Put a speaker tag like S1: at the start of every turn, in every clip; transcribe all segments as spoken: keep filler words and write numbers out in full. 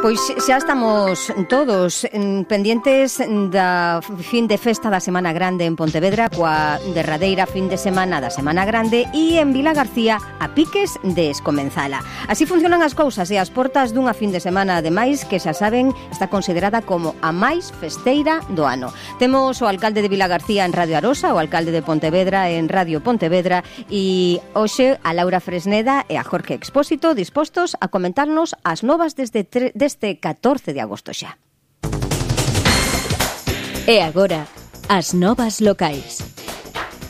S1: Pois xa estamos todos pendientes da fin de festa da Semana Grande en Pontevedra, coa derradeira fin de semana da Semana Grande, e en Vilagarcía a piques de escomenzala. Así funcionan as cousas e as portas dunha fin de semana, ademais, que xa saben, está considerada como a máis festeira do ano. Temos o alcalde de Vilagarcía en Radio Arosa, o alcalde de Pontevedra en Radio Pontevedra, e hoxe a Laura Fresneda e a Jorge Expósito dispostos a comentarnos as novas desde tre- deste catorce de agosto xa.
S2: E agora, as novas locais.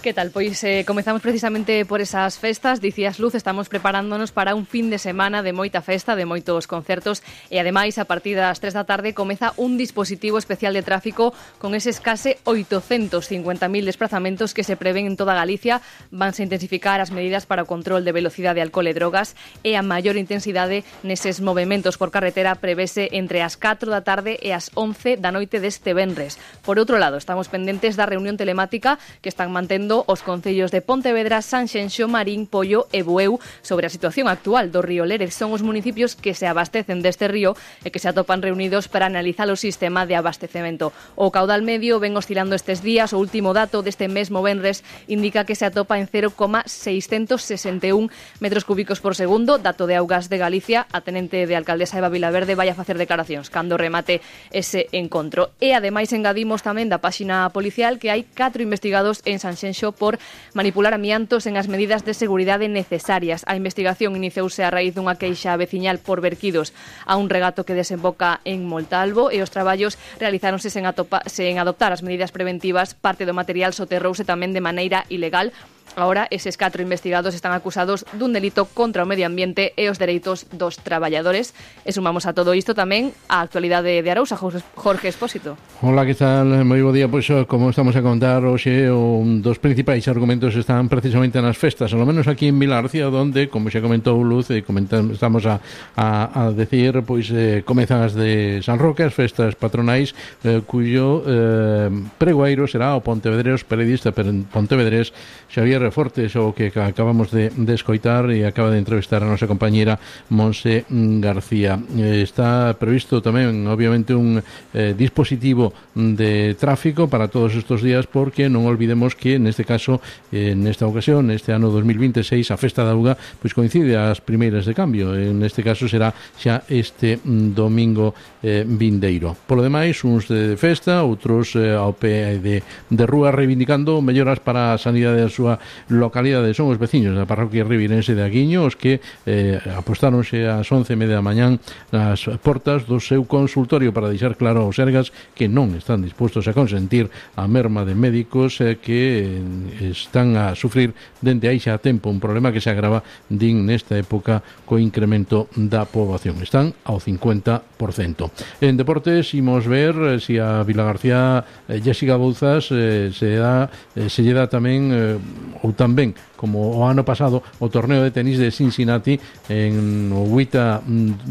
S3: Que tal? Pois eh, comezamos precisamente por esas festas. Dicías, Luz, estamos preparándonos para un fin de semana de moita festa, de moitos concertos, e ademais a partir das tres da tarde comeza un dispositivo especial de tráfico con eses case oitocentos cincuenta mil desplazamentos que se prevén en toda Galicia. Vanse intensificar as medidas para o control de velocidade, alcohol e drogas, e a maior intensidade neses movementos por carretera prevese entre as catro da tarde e as once da noite deste venres. Por outro lado, estamos pendentes da reunión telemática que están mantendo os concellos de Pontevedra, Sanxenxo, Marín, Pollo e Bueu sobre a situación actual do río Lérez. Son os municipios que se abastecen deste río e que se atopan reunidos para analizar o sistema de abastecemento. O caudal medio ven oscilando estes días. O último dato deste mesmo venres indica que se atopa en cero coma seiscentos sesenta e un metros cúbicos por segundo. Dato de Augas de Galicia. A tenente de alcaldesa Eva Vilaverde vai a facer declaracións cando remate ese encontro. E ademais engadimos tamén da páxina policial que hai catro investigados en Sanxenxo por manipular amiantos en as medidas de seguridade necesarias. A investigación iniciouse a raíz dunha queixa veciñal por verquidos a un regato que desemboca en Montalvo, e os traballos realizáronse sen, atopa, sen adoptar as medidas preventivas. Parte do material soterrouse tamén de maneira ilegal. Ahora, eses catro investigados están acusados dun delito contra o medio ambiente e os dereitos dos traballadores. E sumamos a todo isto tamén a actualidade de Arousa. Jorge Expósito.
S4: Hola, que tal? Moi bo día. Pois, como estamos a contar hoxe, un dos principais argumentos están precisamente nas festas, ao menos aquí en Vilagarcía, onde, como xa comentou Luz, e comentamos, estamos a, a, a decir, pois eh, comezan as de San Roque, as festas patronais, eh, cuyo eh, pregoeiro será o pontevedrés, periodista pontevedrés Xavier Fortes, o que acabamos de, de escoitar, e acaba de entrevistar a nosa compañera Monse García. Eh, está previsto tamén, obviamente, un eh, dispositivo de tráfico para todos estes días, porque non olvidemos que neste caso, eh, nesta ocasión, neste ano dos mil veintiséis, a Festa da Auga pois coincide ás primeiras de cambio. En este caso será xa este mm, domingo eh, vindeiro. Por lo demais, uns de festa, outros eh, ao pé de, de rúa, reivindicando melloras para a sanidade da súa localidade. Son os veciños da parroquia rivirense de Aguiño os que eh, apostáronse ás once e media da mañán nas portas do seu consultorio para deixar claro aos sergas que non están dispostos a consentir a merma de médicos eh, que eh, están a sufrir dende aí xa tempo un problema que se agrava, din, nesta época co incremento da poboación. Están ao cincuenta por cento. En deportes, imos ver eh, si a Vilagarcía eh, Jessica Bouzas eh, se dá eh, se lle dá tamén eh, ou tamén, como o ano pasado, o torneo de tenis de Cincinnati en o oito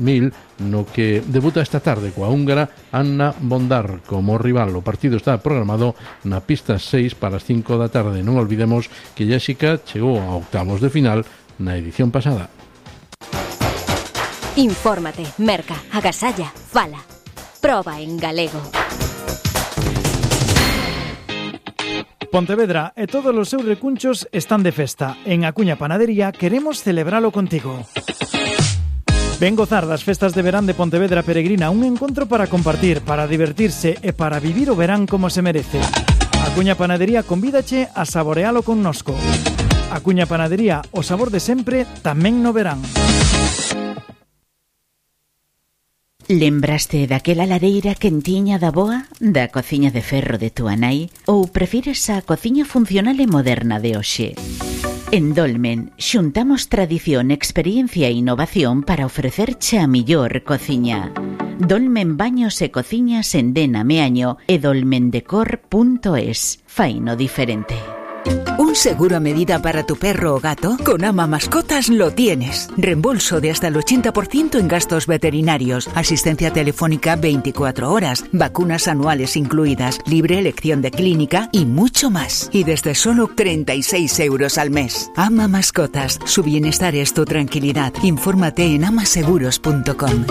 S4: mil, no que debuta esta tarde coa húngara Anna Bondar como rival. O partido está programado na pista seis para as cinco da tarde. Non olvidemos que Jessica chegou a octavos de final na edición pasada.
S2: Infórmate, merca, agasalla, fala. Proba en galego.
S5: Pontevedra e todos os seus recunchos están de festa. En Acuña Panadería queremos celebralo contigo. Ven gozar das festas de verán de Pontevedra Peregrina, un encontro para compartir, para divertirse e para vivir o verán como se merece. Acuña Panadería convídache a saborealo connosco. Acuña Panadería, o sabor de sempre, tamén no verán.
S6: Lembraste daquela lareira quentiña da boa, da cociña de ferro de túa nai, ou prefires a cociña funcional e moderna de hoxe? En Dolmen xuntamos tradición, experiencia e innovación para ofrecerche a millor cociña. Dolmen Baños e Cociñas en Dena Meaño e dolmendecor punto es. Faino diferente.
S7: ¿Un seguro a medida para tu perro o gato? Con Ama Mascotas lo tienes. Reembolso de hasta el ochenta por ciento en gastos veterinarios, asistencia telefónica veinticuatro horas, vacunas anuales incluidas, libre elección de clínica y mucho más. Y desde solo treinta y seis euros al mes. Ama Mascotas, su bienestar es tu tranquilidad. Infórmate en ama seguros punto com.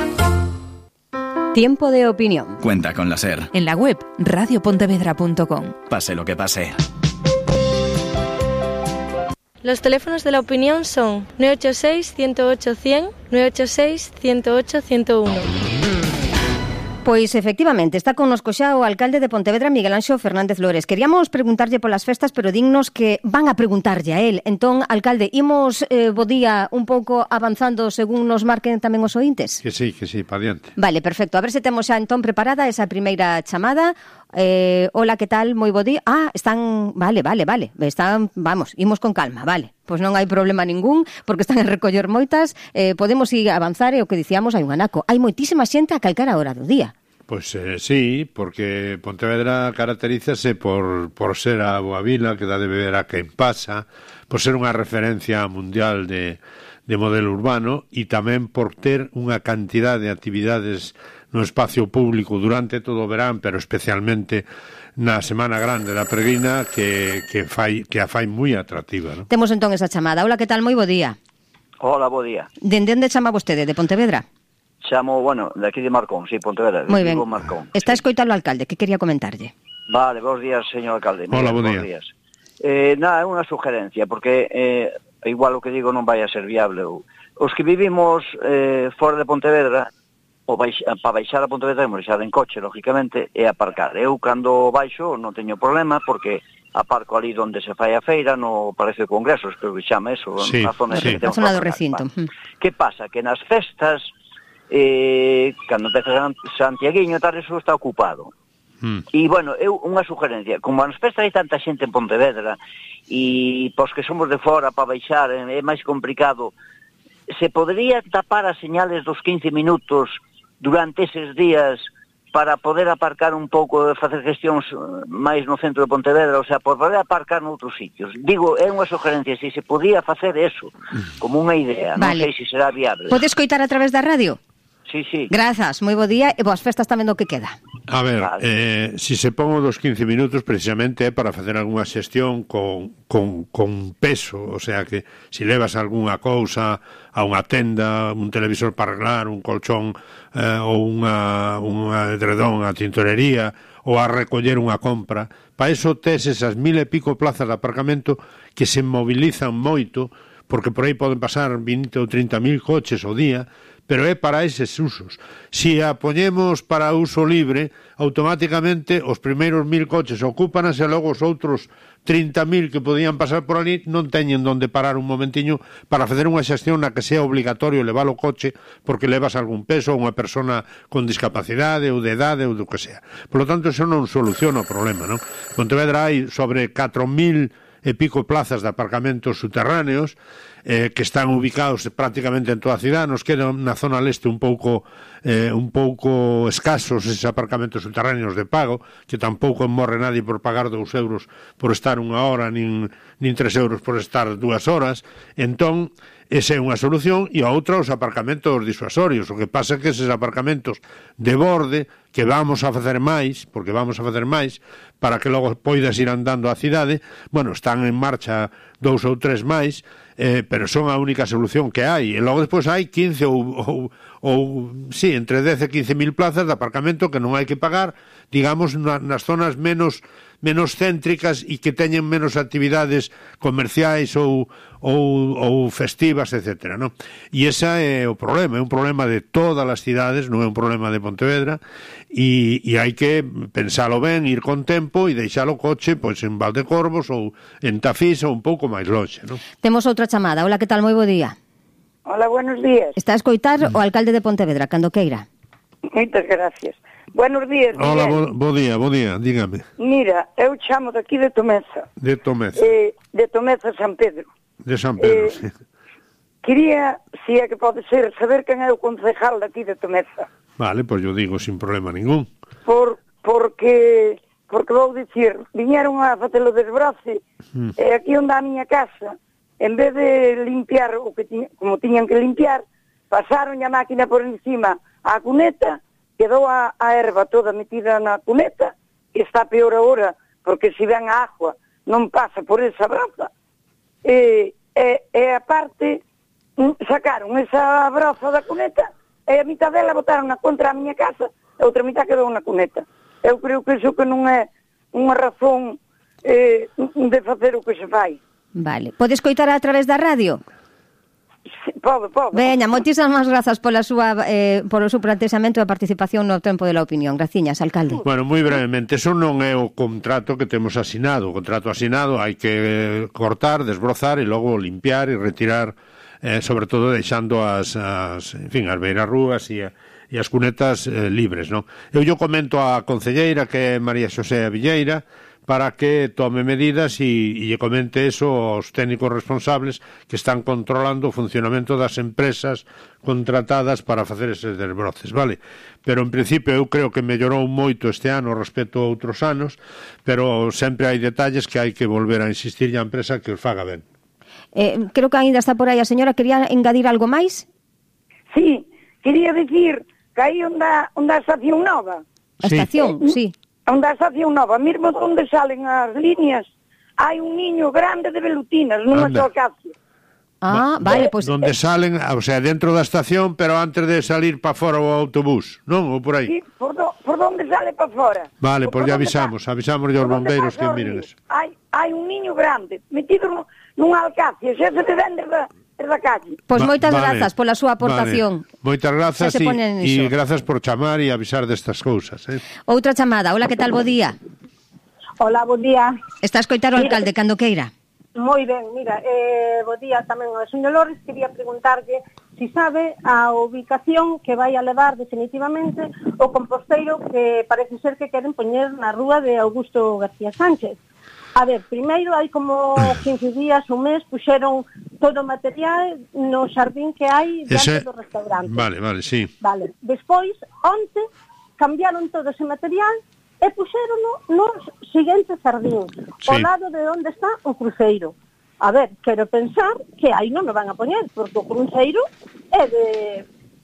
S1: Tiempo de opinión.
S8: Cuenta con la SER.
S9: En la web radio pontevedra punto com.
S8: Pase lo que pase.
S10: Los teléfonos de la opinión son nueve ocho seis, uno cero ocho, cien, nueve ocho seis, uno cero ocho, ciento uno.
S1: Pois efectivamente, está connosco xa o alcalde de Pontevedra, Miguel Anxo Fernández Lores. Queríamos preguntarlle polas festas, pero dignos que van a preguntarlle a él. Entón, alcalde, imos eh, bo día un pouco avanzando según nos marquen tamén os ointes?
S11: Que sí, que sí, pa diante.
S1: Vale, perfecto. A ver se temos xa entón preparada esa primeira chamada. Eh, hola, que tal? Moi bo día. Ah, están... Vale, vale, vale. Están, vamos, imos con calma, vale. Pois non hai problema ningún, porque están a recoller moitas. Eh, podemos ir a avanzar e o que dicíamos hai un anaco. Hai moitísima xente a calcara hora do día.
S11: Pois eh, sí, porque Pontevedra caracterízase por, por ser a boa vila que dá de beber a quen pasa, por ser unha referencia mundial de, de modelo urbano e tamén por ter unha cantidad de actividades no espacio público durante todo o verán, pero especialmente na Semana Grande da Peregrina que, que, fai, que a fai moi atractiva, ¿no?
S1: Temos entón esa chamada. Hola, que tal? Moi bo día.
S12: Hola, bo día.
S1: Dende onde chama vostede? De Pontevedra?
S12: Chamo, bueno, de aquí de Marcón, sí, Pontevedra.
S1: Moi ben.
S12: Marcón,
S1: está
S12: sí.
S1: Escoitando o alcalde, que quería comentarlle?
S12: Vale, bons días, señor alcalde.
S11: Hola,
S12: bon
S11: día.
S12: días. Eh, nada, é unha sugerencia, porque eh, igual o que digo non vai a ser viable. Os que vivimos eh, fora de Pontevedra, o baixa, para baixar a Pontevedra, temos baixar en coche, lógicamente, e aparcar. Eu, cando baixo, non teño problema, porque aparco ali onde se fai a feira, no Palacio de Congresos, creo que chama eso,
S11: sí,
S12: na zona,
S11: sí.
S1: Na zona do recinto.
S12: Vale. Que pasa? Que nas festas, eh, cando empeza Santiaguiño, tal, eso está ocupado.
S11: Mm.
S12: E, bueno, eu, unha sugerencia, como nas festas hai tanta xente en Pontevedra, e pos que somos de fora para baixar é máis complicado, se podría tapar as señales dos quince minutos durante eses días para poder aparcar un pouco e facer gestións máis no centro de Pontevedra, o sea, por poder aparcar noutros sitios. Digo, é unha sugerencia, se se podía facer eso, como unha idea,
S1: vale.
S12: Non sei se será viable.
S1: Podes coitar a través da radio?
S12: Sí, sí.
S1: Grazas, moi bo día e boas festas tamén do que queda.
S11: A ver,
S12: Vale.
S11: eh, si se pon dos quince minutos precisamente é para facer algunha xestión con, con, con peso, o sea que si levas algunha cousa a unha tenda, un televisor para arreglar, un colchón eh, ou unha, unha edredón a tintorería ou a recoller unha compra, para eso tes esas mil e pico plazas de aparcamento que se mobilizan moito, porque por aí poden pasar vinte ou trinta mil coches ao día, pero é para eses usos. Si a poñemos para uso libre, automáticamente os primeiros mil coches ocúpanas e logo os outros trinta mil que podían pasar por ali non teñen donde parar un momentiño para facer unha xestión na que sea obligatorio levar o coche porque levas algún peso ou unha persona con discapacidade ou de edade ou do que sea. Por lo tanto, eso non soluciona o problema, non? Pontevedra hai sobre catro mil e pico plazas de aparcamentos subterráneos eh, que están ubicados prácticamente en toda a cidade. Nos queda na zona leste un pouco eh, un pouco escasos eses aparcamentos subterráneos de pago, que tampouco morre nadie por pagar dous euros por estar unha hora, nin, nin tres euros por estar dúas horas. Entón, esa é unha solución, e a outra os aparcamentos disuasorios. O que pasa é que eses aparcamentos de borde, que vamos a facer máis, porque vamos a facer máis, para que logo poidas ir andando á cidade, bueno, están en marcha dous ou tres máis, eh, pero son a única solución que hai. E logo despois hai quince ou, ou, ou sí, entre dez e quince mil plazas de aparcamento que non hai que pagar, digamos, na, nas zonas menos menos céntricas e que teñen menos actividades comerciais ou, ou, ou festivas, etcétera, non? E ese é o problema, é un problema de todas as cidades, non é un problema de Pontevedra, e, e hai que pensalo ben, ir con tempo e deixar o coche pois en Valdecorvos ou en Tafís ou un pouco máis longe, non?
S1: Temos outra chamada. Hola, que tal? Moi bo día.
S13: Hola, buenos días.
S1: Está a escoitar o alcalde de Pontevedra, cando queira.
S13: Moitas gracias. Buenos días, Miguel.
S11: Hola, bo, bo día, bo día, dígame.
S13: Mira, eu chamo daqui de Tomeza.
S11: De Tomeza.
S13: Eh, de Tomeza, San Pedro.
S11: De San Pedro,
S13: eh,
S11: sí.
S13: Quería, si é que pode ser, saber quen é o concejal daqui de Tomeza.
S11: Vale, pois yo digo sin problema ningún.
S13: Por, porque, porque vou dicir, viñeron a facelo desbrace, mm. e aquí onde a miña casa, en vez de limpiar o que ti, como tiñan que limpiar, pasaron a máquina por encima á cuneta, quedou a, a erva toda metida na cuneta, e está peor agora, porque se ven a agua non pasa por esa braza. E, e, e aparte, sacaron esa braza da cuneta, e a mitad dela botaron na contra a miña casa, a outra mitad quedou na cuneta. Eu creo que iso que non é unha razón eh, de facer o que se fai.
S1: Vale. Podes coitar a través da radio?
S13: Sí, podo, podo.
S1: Veña, moitísimas grazas pola súa, eh, polo seu planteamento e a participación no tempo de la opinión. Graciñas, alcalde.
S11: Bueno, moi brevemente, eso non é o contrato que temos asinado. O contrato asinado hai que cortar, desbrozar e logo limpiar e retirar, eh, sobre todo deixando as, as, en fin, as beirarrúas e, e as cunetas eh, libres, non? Eu yo comento á concelleira, que é María Xosé Villeira, para que tome medidas e, e lle comente eso aos técnicos responsables que están controlando o funcionamento das empresas contratadas para facer eses desbroces, vale? Pero en principio eu creo que mellorou moito este ano respecto a outros anos, pero sempre hai detalles que hai que volver a insistir á empresa que os faga ben.
S1: Eh, creo que ainda está por aí a señora. Quería engadir algo máis?
S13: Sí, quería dicir que aí onde a estación nova.
S1: A estación, sí.
S13: Onde a estación nova, mesmo onde salen as líneas, hai un niño grande de velutinas nunha solcacia.
S1: Ah, vale, pois...
S11: Pues, donde salen, o sea, dentro da estación, pero antes de salir para fora o autobús, non? Ou por aí?
S13: Sí, por, do, por donde sale para fora.
S11: Vale, pois pues ya avisamos, avisamos aos bombeiros que miren eso.
S13: Hai, hai un niño grande, metido nunha alcacia, xa se te vende da, da calle.
S1: Pois pues moitas vale, grazas pola súa aportación.
S11: Vale. Moitas grazas e, e grazas por chamar e avisar destas cousas. Eh?
S1: Outra chamada. Hola, que tal? Bo día.
S14: Hola, bo día.
S1: Está a escoitar o alcalde cando queira.
S14: Moi ben, mira, eh, bo día tamén ao señor Lores. Quería preguntarlle si sabe a ubicación que vai a levar definitivamente o composteiro que parece ser que queren poñer na rúa de Augusto García Sánchez. A ver, primeiro, hai como quince días, un mes, puxeron todo o material no xardín que hai dentro do restaurante.
S11: Vale, vale, sí.
S14: Vale. Despois, onte, cambiaron todo ese material e puxérono no seguinte xardín, sí, ao lado de onde está o cruceiro. A ver, quero pensar que aí non me van a poñer, porque o cruceiro é de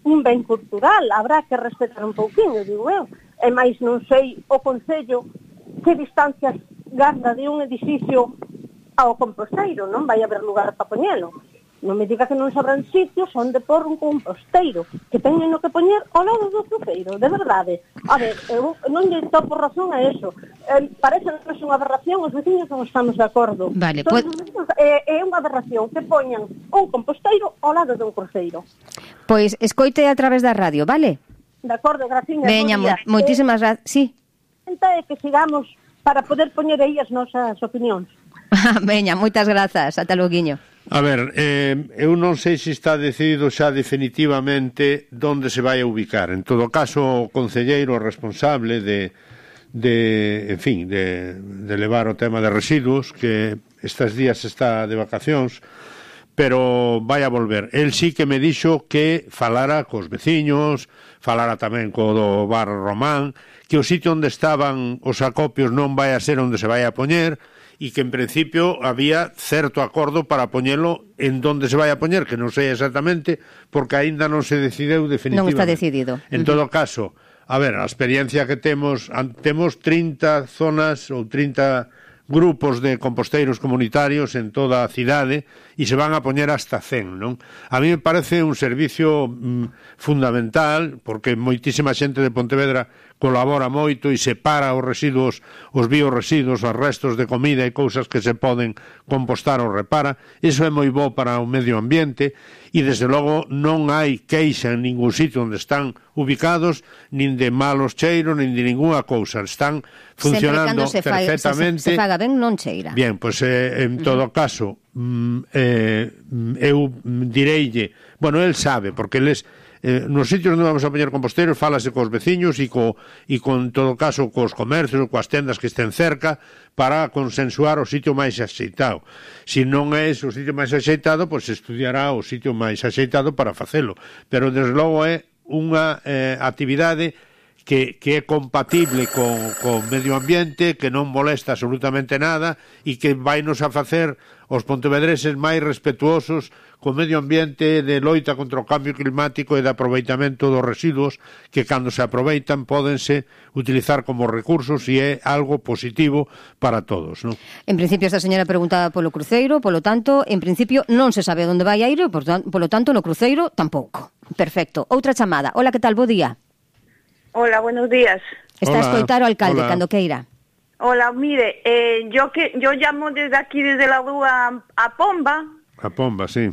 S14: un ben cultural, habrá que respetar un pouquinho, digo eu. E máis non sei o Concello que distancias garda de un edificio ao composteiro, non vai haber lugar para poñelo. Non me diga que non sobran sitios onde por un composteiro, que teñen no que poñer ao lado do cruceiro, de verdade. A ver, eu non lle topo razón a eso. Eh, parece que é unha aberración, os veciños non estamos de acordo.
S1: Vale,
S14: pues... é, é unha aberración que poñan un composteiro ao lado dun cruceiro.
S1: Pois escoite a través da radio, vale?
S14: De acordo, graciñas.
S1: Veña, mo moitísimas grazas. Sí.
S14: É que sigamos para poder poñer aí as nosas opinións.
S1: Veña, moitas grazas. Ata loguiño.
S11: A ver, eh, eu non sei se está decidido xa definitivamente onde se vai a ubicar. En todo caso, o concelleiro responsable de, de en fin, de, de levar o tema de residuos, que estes días está de vacacións, pero vai a volver. El sí que me dixo que falara cos veciños, falara tamén co do bar Román, que o sitio onde estaban os acopios non vai a ser onde se vai a poñer, e que en principio había certo acordo para poñelo en donde se vai a poñer, que non sei exactamente, porque aínda non se decideu definitivamente.
S1: Non está decidido.
S11: En todo caso, a ver, a experiencia que temos, temos trinta zonas ou trinta grupos de composteiros comunitarios en toda a cidade e se van a poñer hasta cen, non? A mí me parece un servicio mm, fundamental, porque moitísima xente de Pontevedra colabora moito e separa os residuos, os bioresiduos, os restos de comida e cousas que se poden compostar ou repara. Iso é moi bo para o medio ambiente e, desde logo, non hai queixa en ningún sitio onde están ubicados, nin de malos cheiros, nin de ninguna cousa. Están funcionando
S1: se
S11: perfectamente.
S1: Se, se faga ben, non cheira.
S11: Bien, pois, pues, eh, en todo uh -huh. caso, mm, eh, eu direille, bueno, el sabe, porque eles eh, nos sitios onde vamos a poñer composteiros fálase cos veciños e, co, e con todo caso cos comercios, coas tendas que estén cerca, para consensuar o sitio máis axeitado. Se non é o sitio máis axeitado, pois pues, estudiará o sitio máis axeitado para facelo. Pero, desde logo, é unha eh, actividade que, que é compatible con, con medio ambiente, que non molesta absolutamente nada e que vai nos a facer os pontevedreses máis respetuosos co medio ambiente, de loita contra o cambio climático e de aproveitamento dos residuos que, cando se aproveitan, pódense utilizar como recursos e é algo positivo para todos, non?
S1: En principio, esta señora preguntaba polo cruceiro, polo tanto, en principio non se sabe onde vai a ir e, polo tanto, no cruceiro tampouco. Perfecto. Outra chamada. Hola, que tal? Bo día.
S15: Hola, buenos días.
S1: Está a escoitar o alcalde, cando queira.
S15: Hola, mire, eh, yo que yo llamo desde aquí, desde la rúa a Pomba.
S11: A Pomba, sí.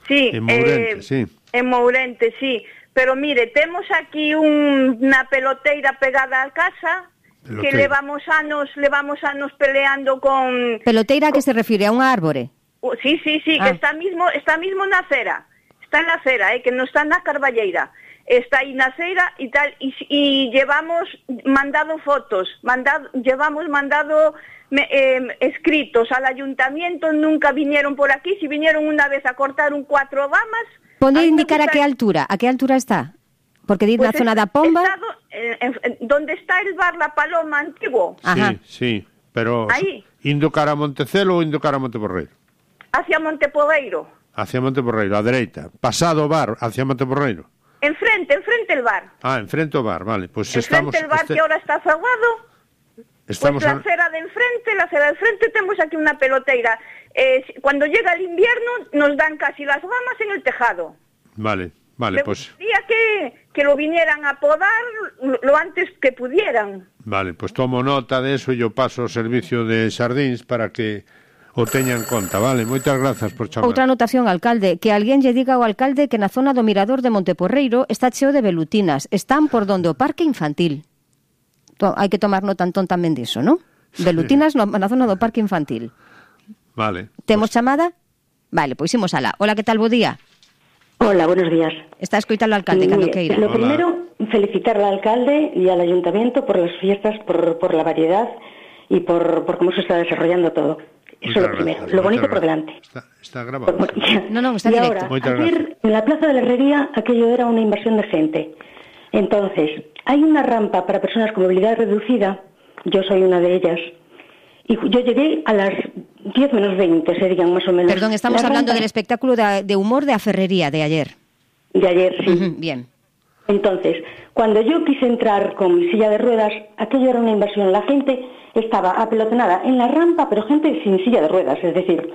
S15: Sí.
S11: En Mourente,
S15: eh,
S11: sí.
S15: En Mourente, sí. Pero mire, temos aquí un, una peloteira pegada a casa, peloteira. Que levamos anos, levamos anos peleando con...
S1: Peloteira a que se refire? A unha árbore?
S15: Uh, sí, sí, sí, ah. que está mismo, está mismo na acera. Está en la acera, eh, que no está na Carballeira. Está aí na acera y tal, y, y llevamos mandado fotos, mandado, llevamos mandado eh, escritos al ayuntamiento, nunca vinieron por aquí, si vinieron una vez a cortar un cuatro ramas.
S1: ¿Pode indicar a qué altura? ¿A qué altura está? Porque di pues na zona da Pomba.
S15: Estado, eh, en, en, donde está el bar La Paloma antiguo.
S11: Ajá. Sí, sí, pero
S15: ahí.
S11: Indo cara a Montecelo ou indo cara a Monteporreiro?
S15: Hacia Monteporreiro.
S11: Hacia Monteporreiro, a dereita. Pasado o bar, hacia Monteporreiro.
S15: Enfrente, enfrente el bar.
S11: Ah, enfrente o bar, vale. Pues
S15: enfrente
S11: estamos,
S15: el bar este... que ahora está cerrado.
S11: Estamos
S15: pues la
S11: a...
S15: acera de enfrente, la acera de enfrente, tenemos aquí una peloteira. Eh, cuando llega el invierno nos dan casi las ramas en el tejado.
S11: Vale, vale,
S15: Me
S11: pues...
S15: gustaría que, que lo vinieran a podar lo antes que pudieran.
S11: Vale, pues tomo nota de eso e yo paso o servicio de xardíns para que o teña en conta, vale? Moitas grazas por chamar.
S1: Outra anotación, alcalde, que alguén lle diga ao alcalde que na zona do Mirador de Monteporreiro está cheo de velutinas, están por donde o parque infantil. To, hai que tomar nota entón tamén diso, non? Velutinas no, na zona do parque infantil.
S11: Vale.
S1: Temos pues... chamada? Vale, pois imos alá. Hola, que tal, bo día?
S16: Hola, buenos días.
S1: Está escoitando al alcalde, cando queira.
S16: Lo Hola. Primero, felicitar al alcalde y al ayuntamiento por las fiestas, por, por la variedad y por, por cómo se está desarrollando todo. Eso es lo primero. Lo bonito
S11: gracias.
S16: Por delante.
S11: Está, está grabado.
S16: Por,
S1: no, no, está
S16: y
S1: directo.
S16: ahora, ayer, en la Plaza de la Herrería, aquello era una invasión de gente. Entonces, hay una rampa para personas con movilidad reducida, yo soy una de ellas, y yo llegué a las diez menos veinte, serían más o menos.
S1: Perdón, estamos la hablando rampa... del espectáculo de, de humor de Aferrería de ayer.
S16: De ayer, sí.
S1: Uh-huh, bien.
S16: Entonces, cuando yo quise entrar con mi silla de ruedas, aquello era una invasión. La gente estaba apelotonada en la rampa, pero gente sin silla de ruedas. Es decir,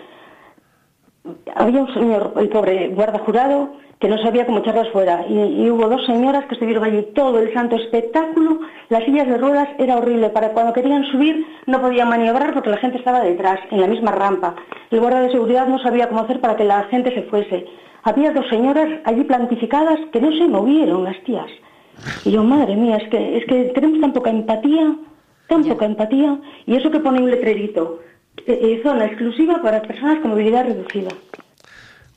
S16: había un señor, el pobre guarda jurado, que no sabía cómo echarlas fuera. Y, y hubo dos señoras que estuvieron allí todo el santo espectáculo. Las sillas de ruedas era horrible. Para cuando querían subir no podían maniobrar porque la gente estaba detrás, en la misma rampa. El guarda de seguridad no sabía cómo hacer para que la gente se fuese. Había dos señoras allí plantificadas que no se movieron, las tías. Y yo, madre mía, es que es que tenemos tan poca empatía, tan poca empatía. Y eso que pone un letrerito, eh, eh, zona exclusiva para personas con movilidad reducida.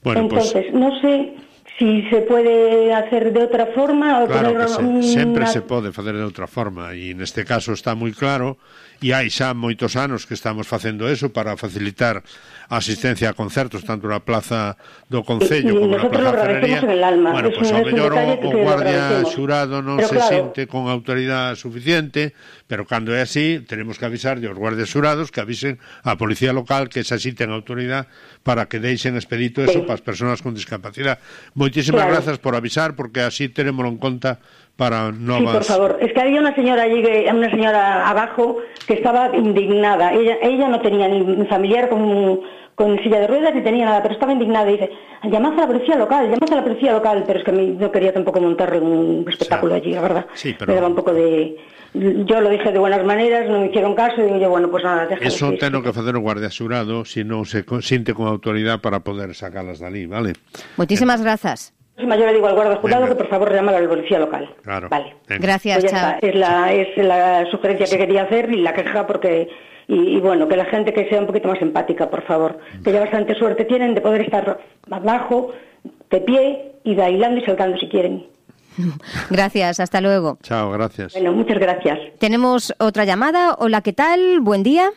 S11: Bueno,
S16: entonces,
S11: pues...
S16: no sé si se puede hacer de outra forma ou
S11: claro
S16: poner
S11: que se,
S16: un...
S11: sempre se pode facer de outra forma e neste caso está moi claro e hai xa moitos anos que estamos facendo eso para facilitar a asistencia a concertos tanto na plaza do Concello como na plaza Ferrería. Bueno, pois pues, ao mellor o, o guardia xurado non pero se claro. Sente con autoridade suficiente, pero cando é así tenemos que avisar aos guardias xurados que avisen á policía local que se asisten autoridade para que deixen expedito eso sí. Para as persoas con discapacidade. Moitísimas claro. Grazas por avisar porque así tenémoslo en conta para novas...
S16: Sí, por favor. Es que había una señora allí, una señora abajo que estaba indignada. Ella ella no tenía ni familiar con, con silla de ruedas ni tenía nada, pero estaba indignada y dice, llamad a la policía local, llamad a la policía local, pero es que a mí no quería tampoco montar un espectáculo sí. Allí, la verdad.
S11: Sí, pero...
S16: Me daba un poco de... Yo lo dije de buenas maneras, no me hicieron caso y digo yo, bueno, pues nada, déjalo.
S11: Eso tengo que facer o guardia xurado se non se sinte con autoridade para poder sacalas dali, vale?
S1: Muchísimas eh. grazas.
S16: Yo le digo al guardia jurado que por favor llame a la policía local.
S11: Claro.
S16: Vale.
S11: Venga.
S1: Gracias,
S16: pues
S1: chao.
S16: Es la, es la sugerencia que quería hacer y la queja porque... Y, y bueno, que la gente que sea un poquito más empática, por favor. Que ya bastante suerte tienen de poder estar abajo, de pie y bailando y saltando si quieren.
S1: Gracias, hasta luego.
S11: Chao, gracias.
S16: Bueno, muchas gracias.
S1: Tenemos otra llamada. Hola, ¿qué tal? Buen día.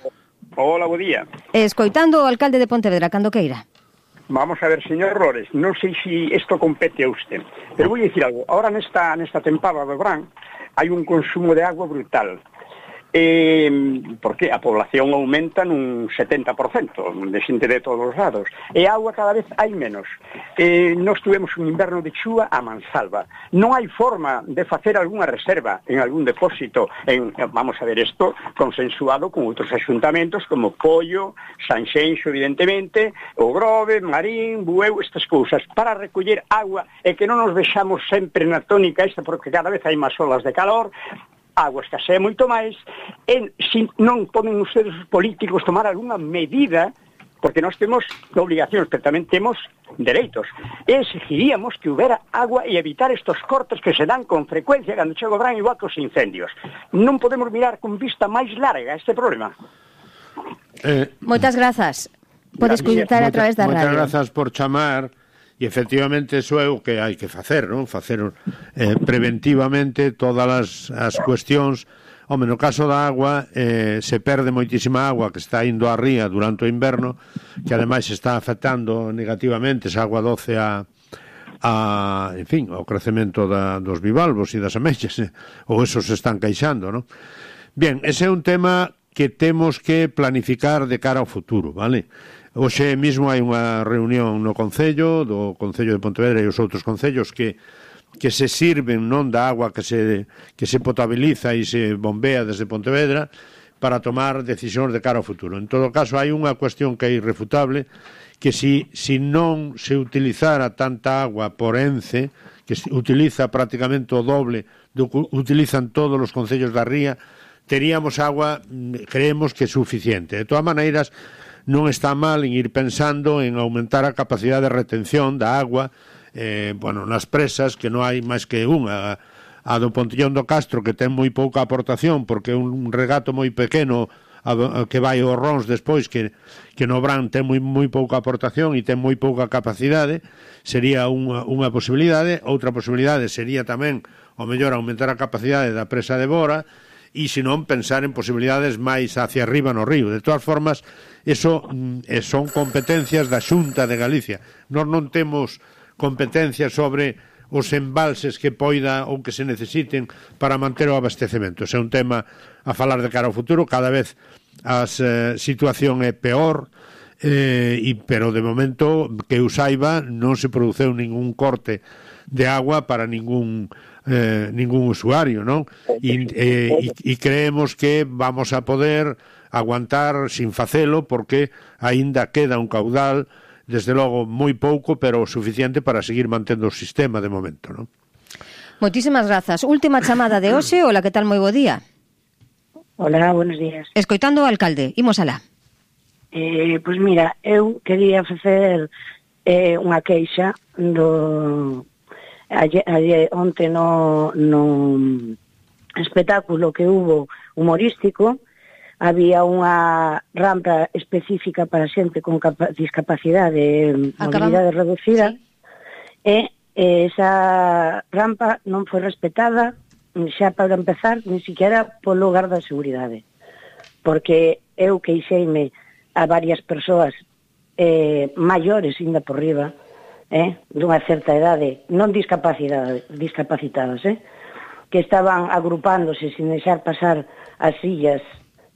S17: Hola, buen día.
S1: Escoitando o alcalde de Pontevedra, cando queira.
S17: Vamos a ver, señor Rores, non sei se isto compete a usted, pero voy a decir algo. Ahora nesta, nesta tempada do verán hai un consumo de agua brutal. Eh, porque a población aumenta nun setenta por cento de xente de todos os lados e agua cada vez hai menos. Eh, nós tuvemos un inverno de chúa a mansalva, non hai forma de facer algunha reserva en algún depósito en, vamos a ver, isto consensuado con outros axuntamentos como Pollo, Sanxenxo evidentemente, o Grove, Marín, Bueu, estas cousas para recoller agua e que non nos vexamos sempre na tónica esta porque cada vez hai máis olas de calor, agua escasea moito máis, e se non poden ustedes os políticos tomar algunha medida, porque nós temos obligacións, pero tamén temos dereitos, e exigiríamos que houbera agua e evitar estos cortes que se dan con frecuencia cando chega o verán igual que os incendios. Non podemos mirar con vista máis larga este problema.
S1: Eh, Moitas grazas. Podes escutar a través da radio.
S11: Moitas grazas por chamar. E efectivamente iso é o que hai que facer, non? Facer eh, preventivamente todas as, as cuestións. Home, no caso da agua eh, se perde moitísima agua que está indo á ría durante o inverno, que ademais está afectando negativamente esa agua doce a, a en fin, ao crecemento da, dos bivalvos e das ameixas, eh, ou esos se están queixando, non? Bien, ese é un tema que temos que planificar de cara ao futuro, vale? Hoxe mesmo hai unha reunión no Concello, do Concello de Pontevedra e os outros concellos que, que se sirven non da agua que se, que se potabiliza e se bombea desde Pontevedra para tomar decisións de cara ao futuro. En todo caso, hai unha cuestión que é irrefutable, que si, si non se utilizara tanta agua por Ence, que se utiliza prácticamente o doble do que utilizan todos os concellos da ría, teríamos agua, creemos que suficiente. De todas maneiras, non está mal en ir pensando en aumentar a capacidade de retención da agua eh, bueno, nas presas, que non hai máis que unha, a do Pontillón do Castro, que ten moi pouca aportación porque é un regato moi pequeno a, a, que vai aos Rons despois, que, que no Bran ten moi, moi pouca aportación e ten moi pouca capacidade, sería unha, unha posibilidade. Outra posibilidade sería tamén o mellor aumentar a capacidade da presa de Bora, e se non pensar en posibilidades máis hacia arriba no río. De todas formas, eso eh, son competencias da Xunta de Galicia. Nós non temos competencias sobre os embalses que poida ou que se necesiten para manter o abastecemento. Ese é un tema a falar de cara ao futuro. Cada vez a eh, situación é peor, eh, e, pero de momento que eu saiba non se produceu ningún corte de agua para ningún eh, ningún usuario, non? E, eh, e, e creemos que vamos a poder aguantar sin facelo porque aínda queda un caudal, desde logo moi pouco, pero suficiente para seguir mantendo o sistema de momento, non?
S1: Moitísimas grazas. Última chamada de hoxe. Hola, que tal? Moi bo día.
S18: Hola, buenos días.
S1: Escoitando o alcalde, imos alá.
S18: Eh, pois mira, eu quería facer eh, unha queixa do ayer, ayer, onte no, no espectáculo que hubo humorístico. Había unha rampa específica para xente con discapacidade, mobilidade reducida, sí. E esa rampa non foi respetada, xa para empezar, ni siquiera polo lugar da seguridade. Porque eu queixeime a varias persoas eh, maiores, ainda por riba, eh, dunha certa idade, non discapacidade, discapacitadas, eh, que estaban agrupándose sin deixar pasar as sillas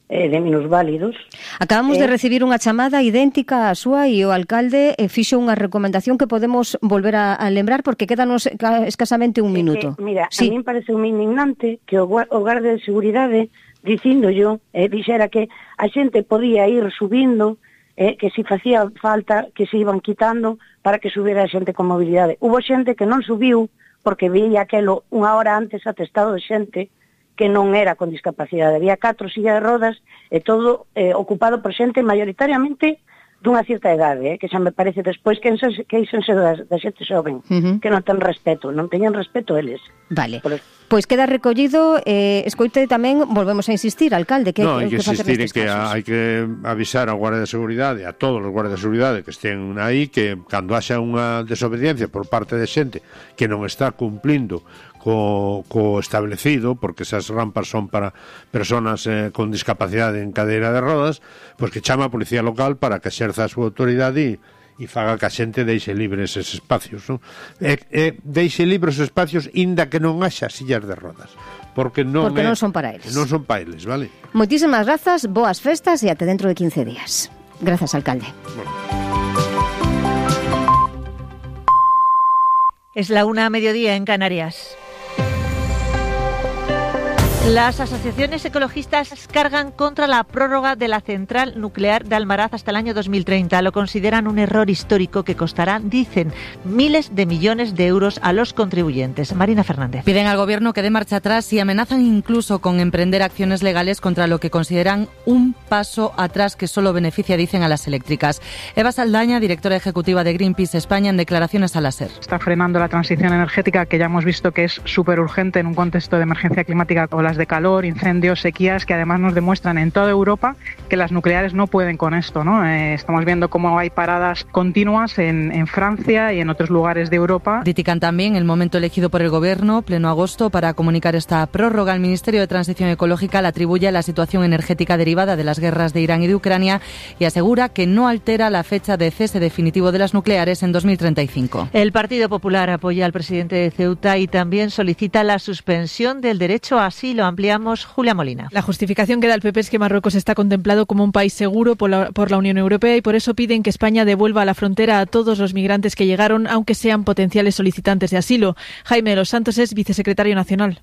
S18: eh, de minusválidos.
S1: Acabamos eh, de recibir unha chamada idéntica á súa e o alcalde eh, fixo unha recomendación que podemos volver a, a lembrar porque quédanos escasamente un minuto.
S18: Que, mira,
S1: sí.
S18: A mí parece un indignante que o, o garda de seguridade dicindo yo, eh, dixera que a xente podía ir subindo, eh, que si facía falta que se iban quitando para que subiera a xente con mobilidade. Hubo xente que non subiu porque veía aquelo unha hora antes atestado de xente que non era con discapacidade. Había catro sillas de rodas e todo eh, ocupado por xente maioritariamente dunha certa idade, eh, que xa me parece despois que queixense da, da xente xoven, uh-huh. que non ten respeto, non teñen respeto eles.
S1: Vale. Por... Pois queda recollido, eh, escoite tamén, volvemos a insistir, alcalde, que
S11: no, hai que,
S1: que
S11: insistir en que a, hai que avisar ao Guardia de Seguridade, a todos os guardias de seguridade que estén aí, que cando haxa unha desobediencia por parte de xente que non está cumplindo co, co establecido, porque esas rampas son para personas eh, con discapacidade en cadeira de rodas, pois que chama a policía local para que exerza a súa autoridade e, e faga que a xente deixe libres eses espacios, non? E, e deixe libres os espacios inda que non haxa sillas de rodas, porque non,
S1: porque
S11: é,
S1: non son para eles.
S11: Non son para eles, vale?
S1: Moitísimas grazas, boas festas e até dentro de quince días. Grazas, alcalde.
S11: Bueno.
S19: Es la una a mediodía en Canarias. Las asociaciones ecologistas cargan contra la prórroga de la central nuclear de Almaraz hasta el año dos mil treinta. Lo consideran un error histórico que costará, dicen, miles de millones de euros a los contribuyentes. Marina Fernández.
S20: Piden al Gobierno que dé marcha atrás y amenazan incluso con emprender acciones legales contra lo que consideran un paso atrás que solo beneficia, dicen, a las eléctricas. Eva Saldaña, directora ejecutiva de Greenpeace España, en declaraciones a la SER.
S21: Está frenando la transición energética, que ya hemos visto que es súper urgente en un contexto de emergencia climática, olas de calor, incendios, sequías, que además nos demuestran en toda Europa que las nucleares no pueden con esto, ¿no? Eh, estamos viendo cómo hay paradas continuas en, en Francia y en otros lugares de Europa.
S20: Critican también el momento elegido por el Gobierno, pleno agosto, para comunicar esta prórroga. El Ministerio de Transición Ecológica la atribuye a la situación energética derivada de las guerras de Irán y de Ucrania y asegura que no altera la fecha de cese definitivo de las nucleares en dos mil treinta y cinco.
S19: El Partido Popular apoya al presidente de Ceuta y también solicita la suspensión del derecho a asilo. Ampliamos Julia Molina.
S22: La justificación que da el P P es que Marruecos está contemplado como un país seguro por la, por la Unión Europea y por eso piden que España devuelva a la frontera a todos los migrantes que llegaron, aunque sean potenciales solicitantes de asilo. Jaime de los Santos es vicesecretario nacional.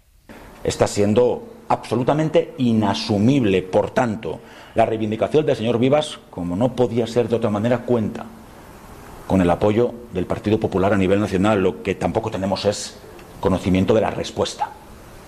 S23: Está siendo absolutamente inasumible, por tanto, la reivindicación del señor Vivas, como no podía ser de otra manera, cuenta con el apoyo del Partido Popular a nivel nacional. Lo que tampoco tenemos es conocimiento de la respuesta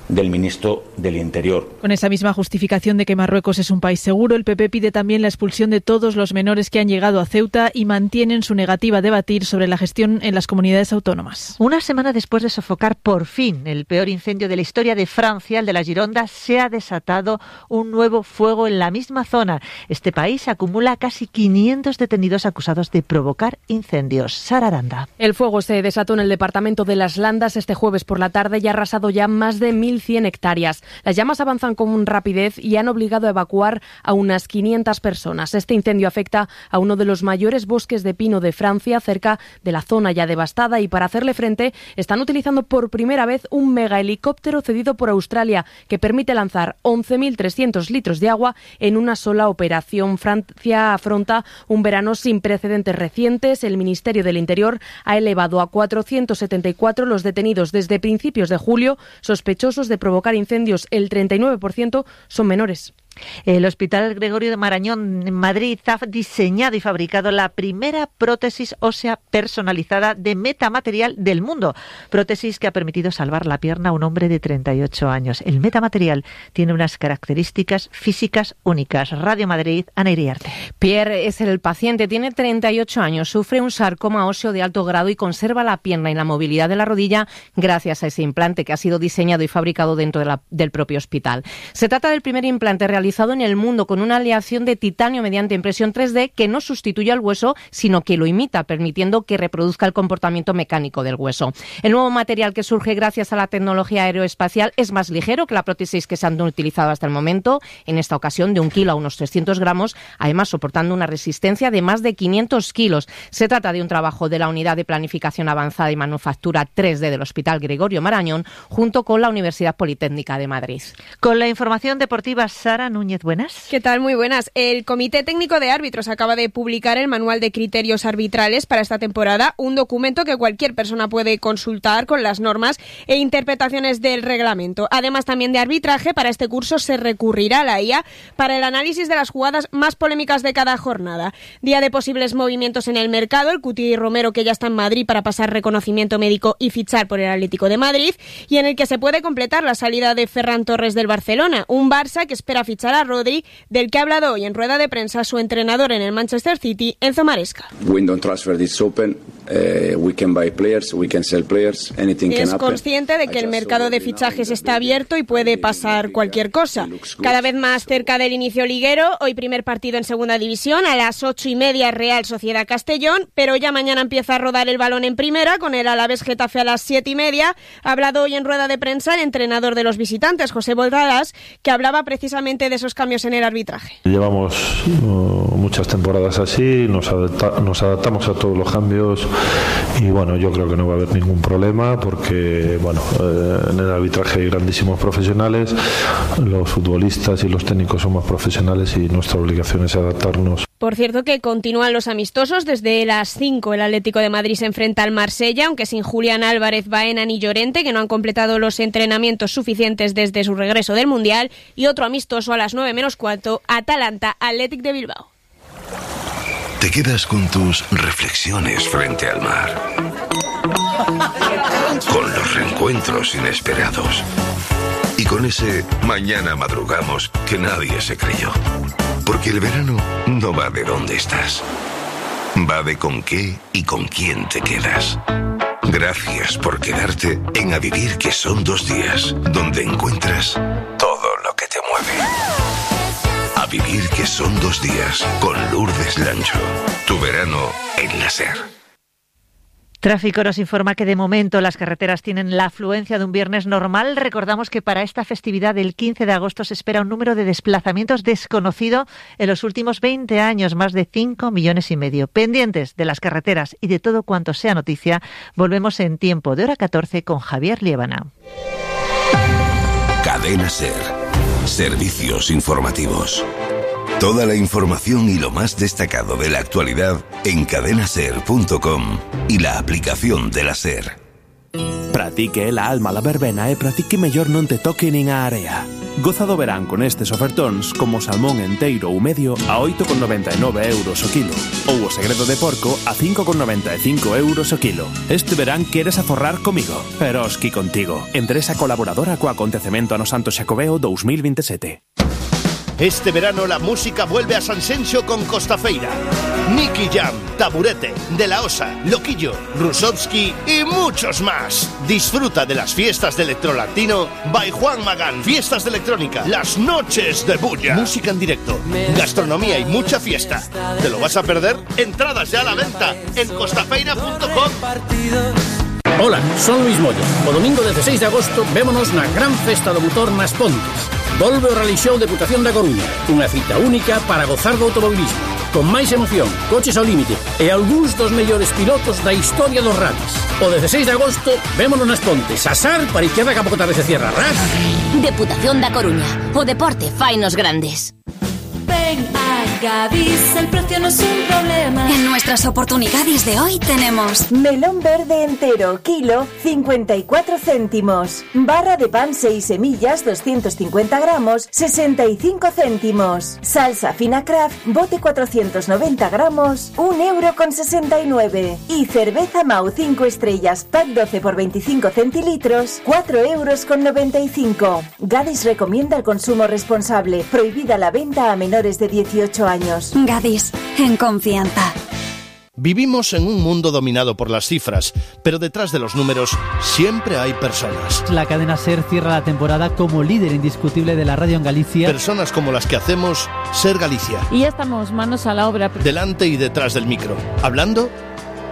S23: del ministro del Interior.
S22: Con esa misma justificación de que Marruecos es un país seguro, el P P pide también la expulsión de todos los menores que han llegado a Ceuta y mantienen su negativa a debatir sobre la gestión en las comunidades autónomas.
S19: Una semana después de sofocar por fin el peor incendio de la historia de Francia, el de la Gironda, se ha desatado un nuevo fuego en la misma zona. Este país acumula casi quinientos detenidos acusados de provocar incendios. Sara Aranda.
S3: El fuego se desató en el departamento de Las Landas este jueves por la tarde y ha arrasado ya más de mil cien hectáreas. Las llamas avanzan con rapidez y han obligado a evacuar a unas quinientas personas. Este incendio afecta a uno de los mayores bosques de pino de Francia, cerca de la zona ya devastada, y para hacerle frente están utilizando por primera vez un megahelicóptero cedido por Australia que permite lanzar once mil trescientos litros de agua en una sola operación. Francia afronta un verano sin precedentes recientes. El Ministerio del Interior ha elevado a cuatrocientos setenta y cuatro los detenidos desde principios de julio, sospechosos de provocar incendios. El treinta y nueve por ciento son menores.
S19: El Hospital Gregorio de Marañón en Madrid ha diseñado y fabricado la primera prótesis ósea personalizada de metamaterial del mundo. Prótesis que ha permitido salvar la pierna a un hombre de treinta y ocho años. El metamaterial tiene unas características físicas únicas. Radio Madrid, Ana Iriarte.
S3: Pierre es el paciente, tiene treinta y ocho años, sufre un sarcoma óseo de alto grado y conserva la pierna y la movilidad de la rodilla gracias a ese implante que ha sido diseñado y fabricado dentro de la, del propio hospital. Se trata del primer implante realizado realizado en el mundo con una aleación de titanio mediante impresión tres D que no sustituye al hueso, sino que lo imita, permitiendo que reproduzca el comportamiento mecánico del hueso. El nuevo material, que surge gracias a la tecnología aeroespacial, es más ligero que la prótesis que se han utilizado hasta el momento, en esta ocasión de un kilo a unos trescientos gramos, además soportando una resistencia de más de quinientos kilos. Se trata de un trabajo de la Unidad de Planificación Avanzada y Manufactura tres D del Hospital Gregorio Marañón, junto con la Universidad Politécnica de Madrid.
S19: Con la información deportiva, Sara Núñez, buenas.
S24: ¿Qué tal? Muy buenas. El Comité Técnico de Árbitros acaba de publicar el Manual de Criterios Arbitrales para esta temporada, un documento que cualquier persona puede consultar con las normas e interpretaciones del reglamento. Además, también de arbitraje, para este curso se recurrirá a la I A para el análisis de las jugadas más polémicas de cada jornada. Día de posibles movimientos en el mercado, el Cuti Romero, que ya está en Madrid para pasar reconocimiento médico y fichar por el Atlético de Madrid, y en el que se puede completar la salida de Ferran Torres del Barcelona, un Barça que espera fichar a Rodri, del que ha hablado hoy en rueda de prensa su entrenador en el Manchester City, Enzo Maresca.
S25: Window transfer is open. Uh, we can buy players, we can sell players, anything can happen.
S24: Es consciente de que el mercado de fichajes está abierto y puede pasar cualquier cosa. Cada vez más cerca del inicio liguero, hoy primer partido en segunda división, a las ocho y media Real Sociedad Castellón, pero ya mañana empieza a rodar el balón en primera, con el Alavés Getafe a las siete y media. Ha hablado hoy en rueda de prensa el entrenador de los visitantes, José Bordalás, que hablaba precisamente de de esos cambios en el arbitraje.
S2: Llevamos uh, muchas temporadas así, nos, adapta, nos adaptamos a todos los cambios y bueno, yo creo que no va a haber ningún problema porque bueno, eh, en el arbitraje hay grandísimos profesionales, los futbolistas y los técnicos son más profesionales y nuestra obligación es adaptarnos.
S24: Por cierto que continúan los amistosos. Desde las cinco el Atlético de Madrid se enfrenta al Marsella, aunque sin Julián Álvarez, Baena ni Llorente, que no han completado los entrenamientos suficientes desde su regreso del Mundial. Y otro amistoso a las nueve menos cuarto, Atalanta Athletic de Bilbao.
S4: Te quedas con tus reflexiones frente al mar, con los reencuentros inesperados y con ese mañana madrugamos que nadie se creyó. Porque el verano no va de dónde estás, va de con qué y con quién te quedas. Gracias por quedarte en A Vivir, que son dos días, donde encuentras todo lo que te mueve. A Vivir, que son dos días, con Lourdes Lancho. Tu verano en la SER.
S19: Tráfico nos informa que de momento las carreteras tienen la afluencia de un viernes normal. Recordamos que para esta festividad del quince de agosto se espera un número de desplazamientos desconocido en los últimos veinte años, más de cinco millones y medio. Pendientes de las carreteras y de todo cuanto sea noticia, volvemos en tiempo de hora catorce con Javier Liébana.
S4: Cadena SER. Servicios informativos. Toda la información y lo más destacado de la actualidad en cadena ser punto com y la aplicación de la SER.
S5: Pratique la alma la verbena e pratique mellor non te toque nin a area. Goza do verán con estes ofertóns como salmón enteiro ou medio a oito con noventa e nove euros o kilo ou o segredo de porco a cinco con noventa e cinco euros o kilo. Este verán queres aforrar comigo, pero esqui contigo. Empresa colaboradora co acontecemento ano Santo Xacobeo dos mil veintisiete.
S6: Este verano la música vuelve a Sanxenxo con Costafeira. Nicky Jam, Taburete, De La Osa, Loquillo, Rusovsky y muchos más. Disfruta de las fiestas de Electrolatino by Juan Magán. Fiestas de electrónica, las noches de bulla. Música en directo, gastronomía y mucha fiesta. ¿Te lo vas a perder? Entradas ya a la venta en costafeira punto com.
S7: Hola, son Luis Moya. O domingo dezasseis de agosto vémonos na gran festa do motor nas Pontes. Volve o Rally Show Deputación da Coruña, unha cita única para gozar do automobilismo, con máis emoción, coches ao límite e algúns dos mellores pilotos da historia dos rallies. O dezasseis de agosto vémonos nas Pontes, asar para izquierda que a pouco tarde se cierra, ras.
S26: Deputación da Coruña, o deporte fainos grandes.
S27: Ven a Gadis, el precio no es un problema.
S26: En nuestras oportunidades de hoy tenemos
S28: melón verde entero, kilo, cincuenta y cuatro céntimos. Barra de pan seis semillas, doscientos cincuenta gramos, sesenta y cinco céntimos. Salsa fina Kraft, bote cuatrocientos noventa gramos, un euro con sesenta y nueve. Y cerveza Mau cinco estrellas, pack doce por veinticinco centilitros, cuatro euros con noventa y cinco. Gadis recomienda el consumo responsable. Prohibida la venta a menores de dieciocho años.
S26: Gadis, en confianza.
S6: Vivimos en un mundo dominado por las cifras, pero detrás de los números siempre hay personas.
S29: La cadena SER cierra la temporada como líder indiscutible de la radio en Galicia.
S6: Personas como las que hacemos SER Galicia.
S30: Y ya estamos manos a la obra.
S6: Delante y detrás del micro, hablando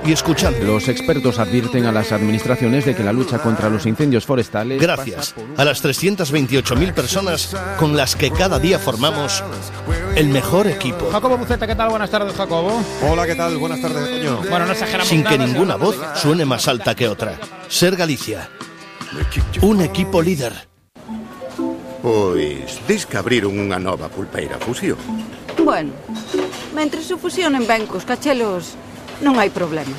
S6: y escuchando.
S31: Los expertos advierten a las administraciones de que la lucha contra los incendios forestales...
S6: Gracias a las trescientas veintiocho mil personas con las que cada día formamos el mejor equipo.
S32: Jacobo Buceta, ¿qué tal? Buenas tardes, Jacobo.
S33: Hola, ¿qué tal? Buenas tardes, Toño.
S32: Bueno, no exageramos
S6: Sin que
S32: nada,
S6: ninguna voz suene más alta que otra. SER Galicia. Un equipo líder.
S34: Pois, dis que abriron unha nova pulpeira fusión.
S35: Bueno, mentre se fusionen ben cos cachelos, non hai problema.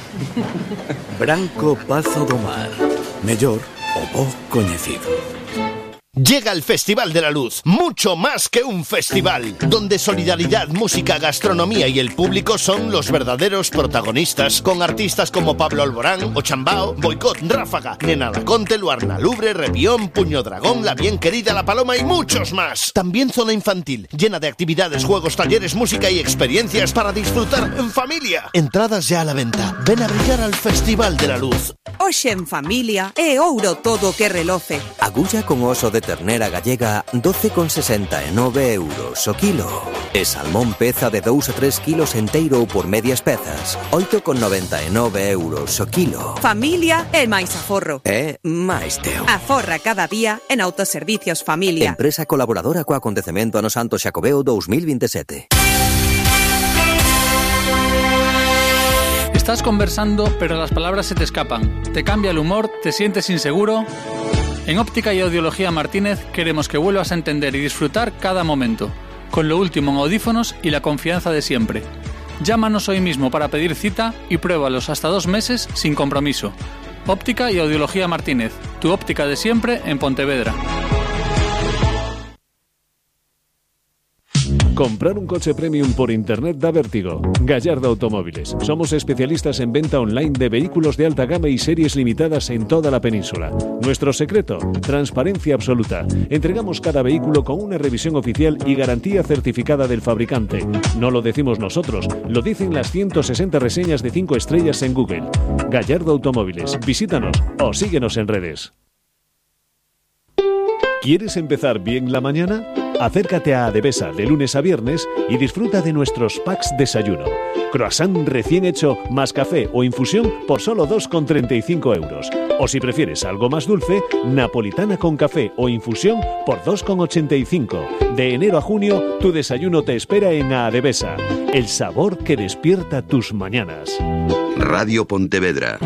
S4: Branco Pazo do Mar. Mellor o bo coñecido.
S6: Llega el Festival de la Luz, mucho más que un festival, donde solidaridad, música, gastronomía y el público son los verdaderos protagonistas, con artistas como Pablo Alborán, Ochambao, Boicot, Ráfaga, Nena Laconte, Luarna Lubre, Rebión, Puño Dragón, La Bien Querida, La Paloma y muchos más. También zona infantil, llena de actividades, juegos, talleres, música y experiencias para disfrutar en familia. Entradas ya a la venta. Ven a brillar al Festival de la Luz.
S36: Hoxe en familia é ouro todo que reloce.
S37: Agulla con oso de
S1: de ternera gallega doce con sesenta e nove euros o kilo. E salmón peza de dous a tres kilos enteiro ou por medias pezas, oito con noventa e nove euros o kilo.
S8: Familia e máis aforro.
S1: E máis teu.
S8: Aforra cada día en Autoservicios Familia.
S1: Empresa colaboradora co acontecemento ano Santo Xacobeo dous mil vinte e sete.
S9: Estás conversando, pero las palabras se te escapan. Te cambia el humor, te sientes inseguro. En Óptica y Audiología Martínez queremos que vuelvas a entender y disfrutar cada momento, con lo último en audífonos y la confianza de siempre. Llámanos hoy mismo para pedir cita y pruébalos hasta dos meses sin compromiso. Óptica y Audiología Martínez, tu óptica de siempre en Pontevedra.
S10: Comprar un coche premium por internet da vértigo. Gallardo Automóviles. Somos especialistas en venta online de vehículos de alta gama y series limitadas en toda la península. Nuestro secreto, transparencia absoluta. Entregamos cada vehículo con una revisión oficial y garantía certificada del fabricante. No lo decimos nosotros, lo dicen las ciento sesenta reseñas de cinco estrellas en Google. Gallardo Automóviles. Visítanos o síguenos en redes. ¿Quieres empezar bien la mañana? Acércate a Adevesa de lunes a viernes y disfruta de nuestros packs desayuno. Croissant recién hecho más café o infusión por solo dos con treinta y cinco euros. O si prefieres algo más dulce, napolitana con café o infusión por dos con ochenta y cinco. De enero a junio, tu desayuno te espera en Adevesa. El sabor que despierta tus mañanas.
S4: Radio Pontevedra.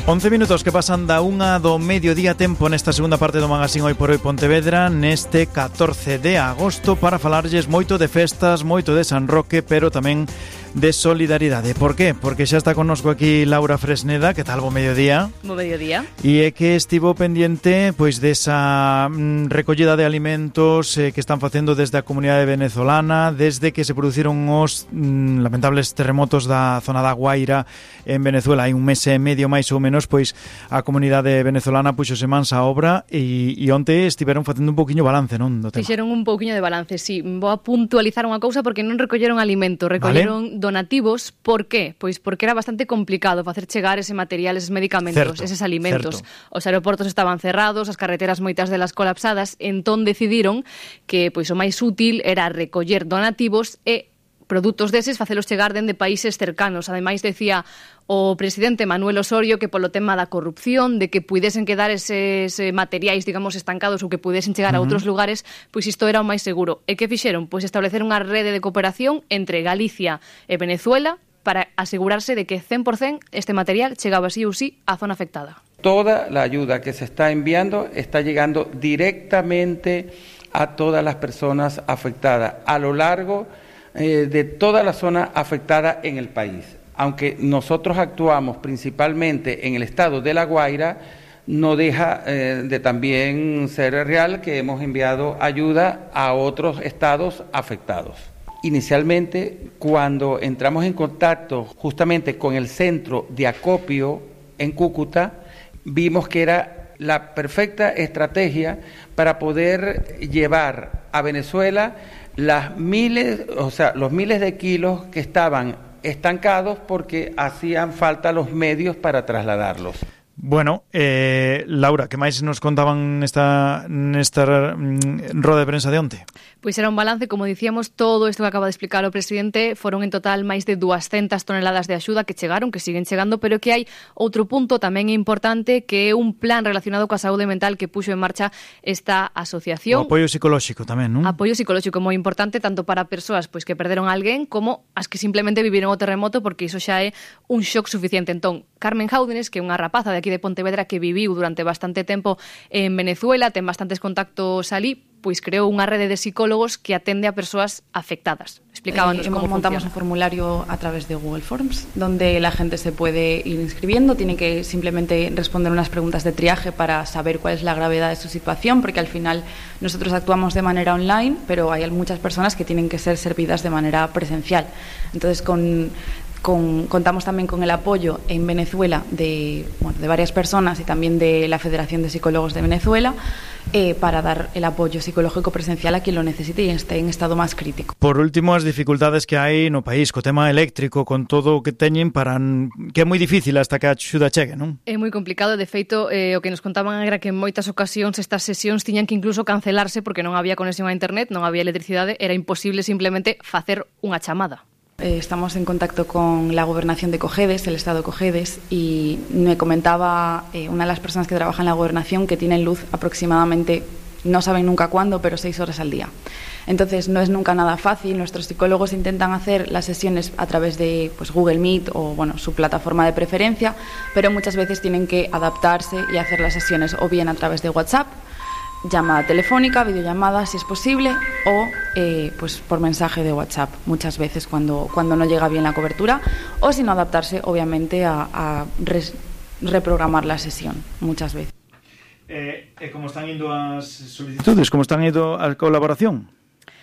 S11: once minutos que pasan da unha do mediodía, tempo nesta segunda parte do magazín Hoy por Hoy Pontevedra, neste catorce de agosto, para falarlles moito de festas, moito de San Roque, pero tamén de solidaridade. Por qué? Porque xa está connosco aquí Laura Fresneda. Que tal, bo mediodía?
S3: Bo mediodía.
S11: E é que estivo pendente pois desa mm, recollida de alimentos eh, que están facendo desde a comunidade venezolana, desde que se produciron os mm, lamentables terremotos da zona da Guaira en Venezuela. Hai un mes e medio máis ou menos, pois a comunidade venezolana puxose mans a obra e, e onte estiveron facendo un pouquiño balance, non? Do tema.
S3: Fixeron un pouquiño de balance, sí. Vou a puntualizar unha cousa porque non recolleron alimento, recolleron vale. donativos. Por qué? Pois porque era bastante complicado facer chegar ese material, eses medicamentos, certo, eses alimentos. Certo. Os aeroportos estaban cerrados, as carreteras moitas delas colapsadas, entón decidiron que pois o máis útil era recoller donativos e produtos deses facelos chegar dende países cercanos. Ademais, decía o presidente Manuel Osorio que polo tema da corrupción, de que puidesen quedar eses materiais, digamos, estancados ou que pudesen chegar uh-huh. a outros lugares, pois isto era o máis seguro. E que fixeron? Pois establecer unha rede de cooperación entre Galicia e Venezuela para asegurarse de que cen por cen este material chegaba sí ou sí á zona afectada.
S12: Toda la ayuda que se está enviando está llegando directamente a todas las personas afectadas a lo largo eh, de toda la zona afectada en el país. Aunque nosotros actuamos principalmente en el estado de La Guaira, no deja eh, de también ser real que hemos enviado ayuda a otros estados afectados. Inicialmente, cuando entramos en contacto justamente con el centro de acopio en Cúcuta, vimos que era la perfecta estrategia para poder llevar a Venezuela las miles, o sea, los miles de kilos que estaban estancados porque hacían falta los medios para trasladarlos.
S11: Bueno, eh, Laura, que máis nos contaban nesta, nesta mm, roda de prensa de onte?
S3: Pois era un balance, como dicíamos, todo isto que acaba de explicar o presidente, foron en total máis de duascentas toneladas de axuda que chegaron, que siguen chegando, pero que hai outro punto tamén importante, que é un plan relacionado coa saúde mental que puxo en marcha esta asociación.
S11: O apoio psicolóxico tamén, non?
S3: Apoio psicolóxico moi importante, tanto para persoas pois que perderon a alguén, como as que simplemente viviron o terremoto, porque iso xa é un shock suficiente. Entón, Carmen Jáudenes, que é unha rapaza de aquí de Pontevedra que viviu durante bastante tempo en Venezuela, ten bastantes contactos alí, pois creou unha rede de psicólogos que atende a persoas afectadas. Explicábanos
S13: eh,
S3: cómo
S13: montamos
S3: funciona.
S13: Un formulario a través de Google Forms, donde la gente se puede ir inscribiendo, tiene que simplemente responder unas preguntas de triaje para saber cuál es la gravedad de su situación, porque al final nosotros actuamos de manera online, pero hay muchas personas que tienen que ser servidas de manera presencial. Entonces, con con, contamos también con el apoyo en Venezuela de, bueno, de varias personas y también de la Federación de Psicólogos de Venezuela, eh, para dar el apoyo psicológico presencial a quien lo necesite y esté en estado máis crítico.
S11: Por último, as dificultades que hai no país co tema eléctrico, con todo o que teñen, para que é moi difícil hasta que a axuda chegue, non?
S3: É moi complicado, de feito, eh, o que nos contaban era que en moitas ocasións estas sesións tiñan que incluso cancelarse porque non había conexión a internet, non había electricidade, era imposible simplemente facer unha chamada.
S13: Eh, estamos en contacto con la gobernación de Cojedes, el estado de Cojedes, y me comentaba eh, una de las personas que trabaja en la gobernación que tienen luz aproximadamente, no saben nunca cuándo, pero seis horas al día. Entonces no es nunca nada fácil. Nuestros psicólogos intentan hacer las sesiones a través de pues, Google Meet o bueno, su plataforma de preferencia, pero muchas veces tienen que adaptarse y hacer las sesiones o bien a través de WhatsApp, llamada telefónica, videollamada si es posible, o eh, pues por mensaje de WhatsApp muchas veces cuando, cuando no llega bien la cobertura, o si no adaptarse obviamente a, a res, reprogramar la sesión muchas veces.
S11: Eh, eh, como están indo as solicitudes, como están indo a colaboración?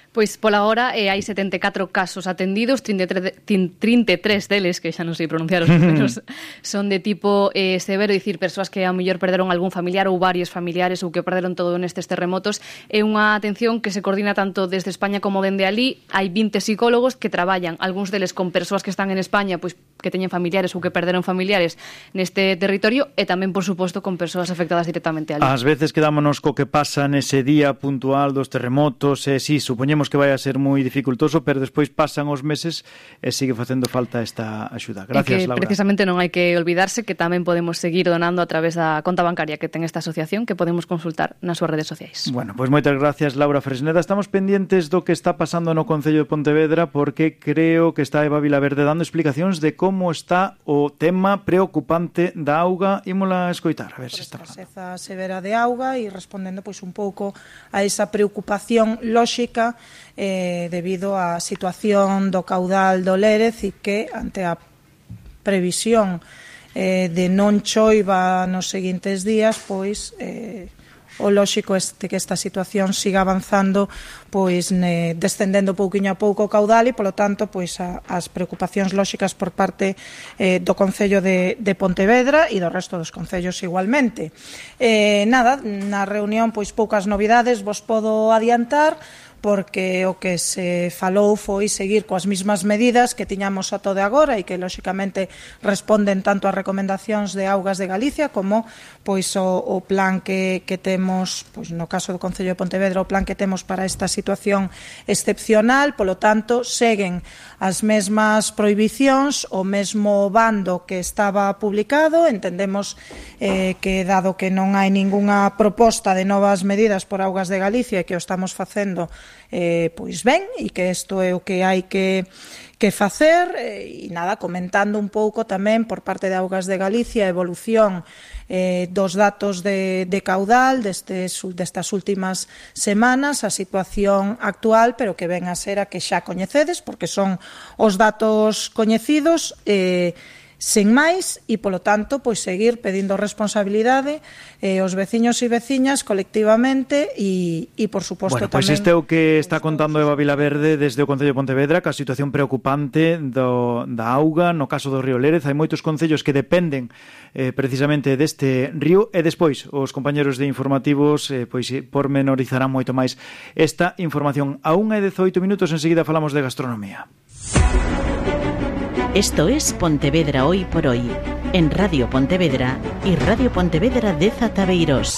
S3: Pois pola hora eh, hai setenta e catro casos atendidos, trinta e tres deles, que xa non sei pronunciar os números, son de tipo eh, severo, dicir, persoas que a mellor perderon algún familiar ou varios familiares ou que perderon todo nestes terremotos. É unha atención que se coordina tanto desde España como dende alí. Hai vinte psicólogos que traballan, algúns deles con persoas que están en España, pois que teñen familiares ou que perderon familiares neste territorio, e tamén, por suposto, con persoas afectadas directamente alí.
S11: Ás veces quedámonos co que pasa nese día puntual dos terremotos, e si, supoñemos que vai a ser moi dificultoso, pero despois pasan os meses e sigue facendo falta esta axuda. Gracias,
S3: e que,
S11: Laura.
S3: Precisamente non hai que olvidarse que tamén podemos seguir donando a través da conta bancaria que ten esta asociación, que podemos consultar nas súas redes sociais.
S11: Bueno, pois moitas gracias, Laura Fresneda. Estamos pendientes do que está pasando no Concello de Pontevedra, porque creo que está Eva Vilaverde dando explicacións de como está o tema preocupante da auga. Ímola a escoitar, a ver se está falando.
S2: A escaseza severa de auga e respondendo pois un pouco a esa preocupación lóxica eh, debido á situación do caudal do Lérez, e que ante a previsión eh, de non choiva nos seguintes días, pois eh, o lóxico este que esta situación siga avanzando, pois ne, descendendo pouquiño a pouco o caudal, e polo tanto pois a, as preocupacións lóxicas por parte eh, do Concello de, de Pontevedra e do resto dos concellos igualmente. Eh, nada, na reunión pois poucas novidades vos podo adiantar, porque o que se falou foi seguir coas mesmas medidas que tiñamos ata de agora e que, lóxicamente, responden tanto ás recomendacións de Augas de Galicia como pois o, o plan que, que temos, pois no caso do Concello de Pontevedra, o plan que temos para esta situación excepcional. Polo tanto, seguen as mesmas prohibicións, o mesmo bando que estaba publicado. Entendemos eh, que, dado que non hai ningunha proposta de novas medidas por Augas de Galicia e que o estamos facendo Eh, pois ben, e que isto é o que hai que, que facer, e nada, comentando un pouco tamén por parte de Augas de Galicia a evolución eh, dos datos de, de caudal destes, destas últimas semanas, a situación actual, pero que ven a ser a que xa coñecedes, porque son os datos coñecidos, eh, sen máis, e polo tanto pois seguir pedindo responsabilidade eh, aos veciños e veciñas colectivamente, e, e por suposto
S11: bueno, tamén... Pois este é o que está contando Eva Vilaverde desde o Concello de Pontevedra, que a situación preocupante do, da auga no caso do río Lérez. Hai moitos concellos que dependen eh, precisamente deste río, e despois os compañeros de informativos eh, pois pormenorizarán moito máis esta información. A unha e dezoito minutos, enseguida falamos de gastronomía.
S5: Esto es Pontevedra Hoy por Hoy, en Radio Pontevedra y Radio Pontevedra de Zatabeirós.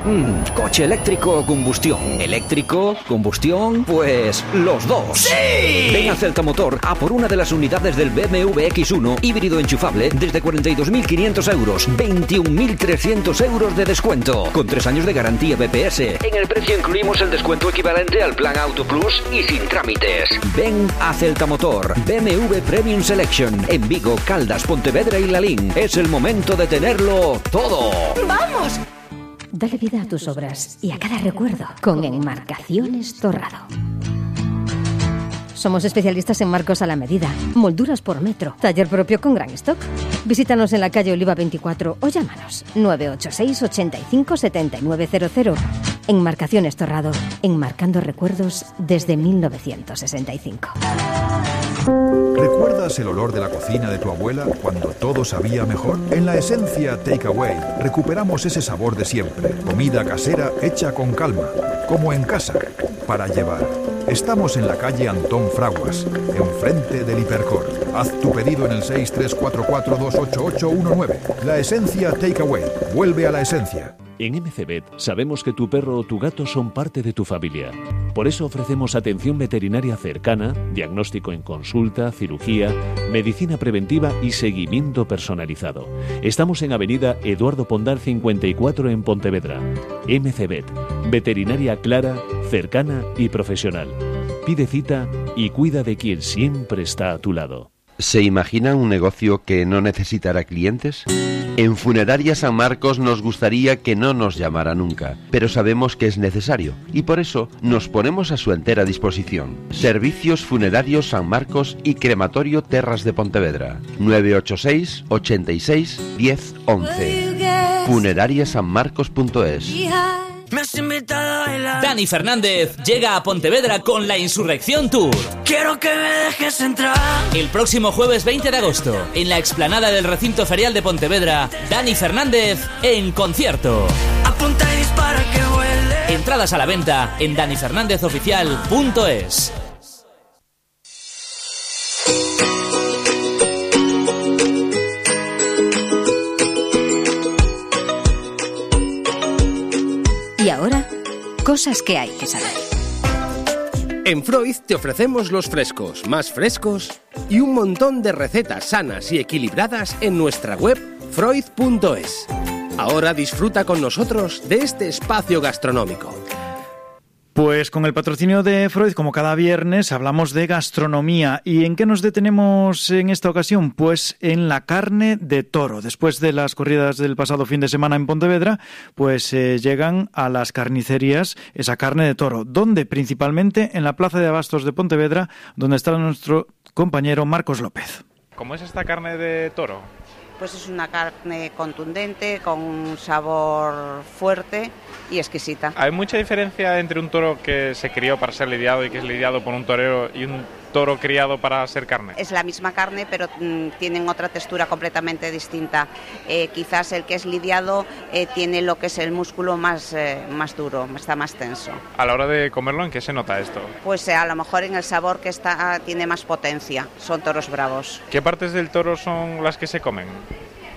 S7: Mm, ¿coche eléctrico o combustión? ¿Eléctrico? ¿Combustión? Pues los dos. ¡Sí! Ven a Celta Motor a por una de las unidades del B M W X uno híbrido enchufable desde cuarenta y dos mil quinientos euros, veintiún mil trescientos euros de descuento, con tres años de garantía B P S. En el precio incluimos el descuento equivalente al plan Auto Plus y sin trámites. Ven a Celta Motor, B M W Premium Selection, en Vigo, Caldas, Pontevedra y Lalín. Es el momento de tenerlo todo.
S26: ¡Vamos! Dale vida a tus obras y a cada recuerdo con Enmarcaciones Torrado. Somos especialistas en marcos a la medida, molduras por metro, taller propio con gran stock. Visítanos en la calle Oliva veinticuatro o llámanos nueve ocho seis, ochenta y cinco, setenta y nueve cero cero. Enmarcaciones Torrado, enmarcando recuerdos desde mil novecientos sesenta y cinco.
S14: ¿Recuerdas el olor de la cocina de tu abuela cuando todo sabía mejor? En la Esencia Takeaway recuperamos ese sabor de siempre. Comida casera hecha con calma, como en casa, para llevar. Estamos en la calle Antón Fraguas, enfrente del Hipercor. Haz tu pedido en el seis tres cuatro cuatro dos ocho ocho uno nueve. La Esencia Takeaway. Vuelve a la esencia.
S10: En M C Vet sabemos que tu perro o tu gato son parte de tu familia. Por eso ofrecemos atención veterinaria cercana, diagnóstico en consulta, cirugía, medicina preventiva y seguimiento personalizado. Estamos en Avenida Eduardo Pondal cincuenta y cuatro en Pontevedra. M C Vet, veterinaria clara, cercana y profesional. Pide cita y cuida de quien siempre está a tu lado.
S15: ¿Se imaginan un negocio que no necesitará clientes? En Funeraria San Marcos nos gustaría que no nos llamara nunca, pero sabemos que es necesario y por eso nos ponemos a su entera disposición. Servicios Funerarios San Marcos y Crematorio Terras de Pontevedra. nueve ocho seis, ochenta y seis, diez, once. funeraria san marcos punto es.
S16: Dani Fernández llega a Pontevedra con la Insurrección Tour.
S17: Quiero que me dejes entrar.
S16: El próximo jueves veinte de agosto, en la explanada del recinto ferial de Pontevedra, Dani Fernández en concierto.
S17: Apunta y dispara que vuele.
S16: Entradas a la venta en dani fernández oficial punto es.
S26: Y ahora, cosas que hay que saber.
S18: En Freud te ofrecemos los frescos más frescos y un montón de recetas sanas y equilibradas en nuestra web freud punto es. Ahora disfruta con nosotros de este espacio gastronómico.
S11: Pues con el patrocinio de Freud, como cada viernes, hablamos de gastronomía. ¿Y en qué nos detenemos en esta ocasión? Pues en la carne de toro. Después de las corridas del pasado fin de semana en Pontevedra, pues eh, llegan a las carnicerías esa carne de toro. ¿Dónde? Principalmente en la Plaza de Abastos de Pontevedra, donde está nuestro compañero Marcos López.
S19: ¿Cómo es esta carne de toro?
S35: Pues es una carne contundente, con un sabor fuerte y exquisita.
S19: ¿Hay mucha diferencia entre un toro que se crió para ser lidiado y que es lidiado por un torero y un toro criado para ser carne?
S35: Es la misma carne, pero mm, tienen otra textura completamente distinta. Eh, quizás el que es lidiado eh, tiene lo que es el músculo más, eh, más duro, está más tenso.
S19: A la hora de comerlo, ¿en qué se nota esto?
S35: Pues eh, a lo mejor en el sabor, que está, tiene más potencia. Son toros bravos.
S19: ¿Qué partes del toro son las que se comen?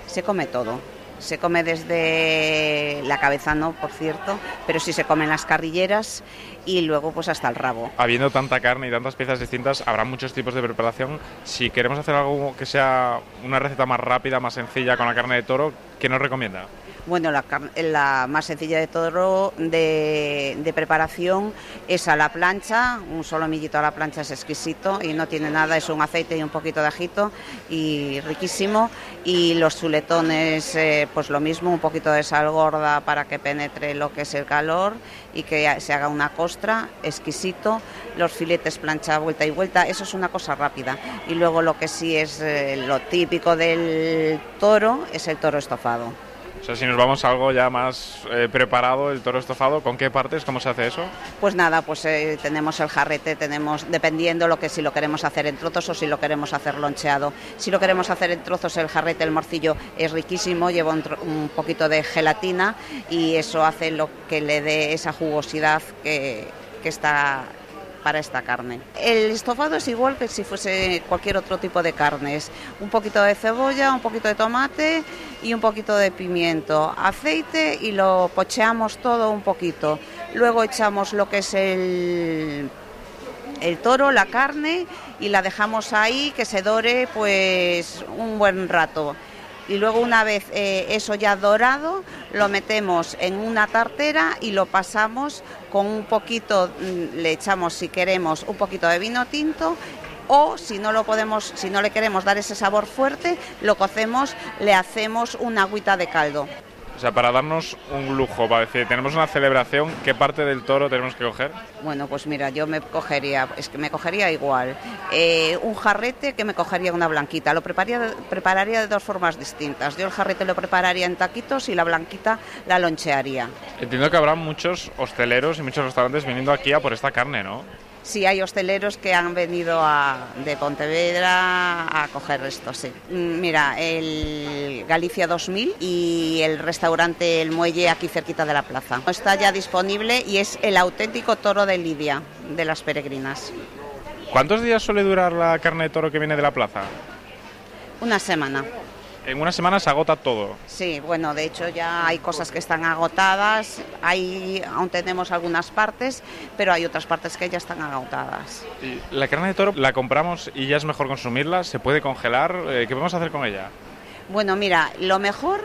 S35: Se come todo. Se come desde la cabeza, no, por cierto, pero sí se comen las carrilleras y luego pues hasta el rabo.
S19: Habiendo tanta carne y tantas piezas distintas, habrá muchos tipos de preparación. Si queremos hacer algo que sea una receta más rápida, más sencilla con la carne de toro, ¿qué nos recomienda?
S35: Bueno, la, la más sencilla de toro de, de preparación es a la plancha. Un solomillito a la plancha es exquisito y no tiene nada, es un aceite y un poquito de ajito y riquísimo. Y los chuletones, eh, pues lo mismo, un poquito de sal gorda para que penetre lo que es el calor y que se haga una costra, exquisito. Los filetes plancha vuelta y vuelta, eso es una cosa rápida. Y luego lo que sí es eh, lo típico del toro es el toro estofado.
S19: O sea, si nos vamos a algo ya más eh, preparado, el toro estofado, ¿con qué partes? ¿Cómo se hace eso?
S35: Pues nada, pues eh, tenemos el jarrete, tenemos, dependiendo lo que si lo queremos hacer en trozos o si lo queremos hacer loncheado. Si lo queremos hacer en trozos, el jarrete, el morcillo es riquísimo, lleva un, un poquito de gelatina y eso hace lo que le dé esa jugosidad que, que está para esta carne. El estofado es igual que si fuese cualquier otro tipo de carnes. Un poquito de cebolla, un poquito de tomate y un poquito de pimiento, aceite y lo pocheamos todo un poquito. Luego echamos lo que es el, el toro, la carne y la dejamos ahí que se dore pues un buen rato. Y luego una vez eh, eso ya dorado, lo metemos en una tartera y lo pasamos con un poquito, le echamos si queremos un poquito de vino tinto o si no lo podemos, si no le queremos dar ese sabor fuerte, lo cocemos, le hacemos una agüita de caldo.
S19: O sea, para darnos un lujo, para decir, tenemos una celebración, ¿qué parte del toro tenemos que coger?
S35: Bueno, pues mira, yo me cogería, es que me cogería igual, eh, un jarrete que me cogería una blanquita, lo prepararía, prepararía de dos formas distintas. Yo el jarrete lo prepararía en taquitos y la blanquita la lonchearía.
S19: Entiendo que habrá muchos hosteleros y muchos restaurantes viniendo aquí a por esta carne, ¿no?
S35: Sí, hay hosteleros que han venido a, de Pontevedra a coger esto, sí. Mira, el Galicia dos mil y el restaurante El Muelle aquí cerquita de la plaza. Está ya disponible y es el auténtico toro de Lidia, de las peregrinas.
S19: ¿Cuántos días suele durar la carne de toro que viene de la plaza?
S35: Una semana.
S19: En una semana se agota todo.
S35: Sí, bueno, de hecho ya hay cosas que están agotadas, hay, aún tenemos algunas partes, pero hay otras partes que ya están agotadas.
S19: Y la carne de toro la compramos y ya es mejor consumirla, se puede congelar, ¿qué podemos hacer con ella?
S35: Bueno, mira, lo mejor,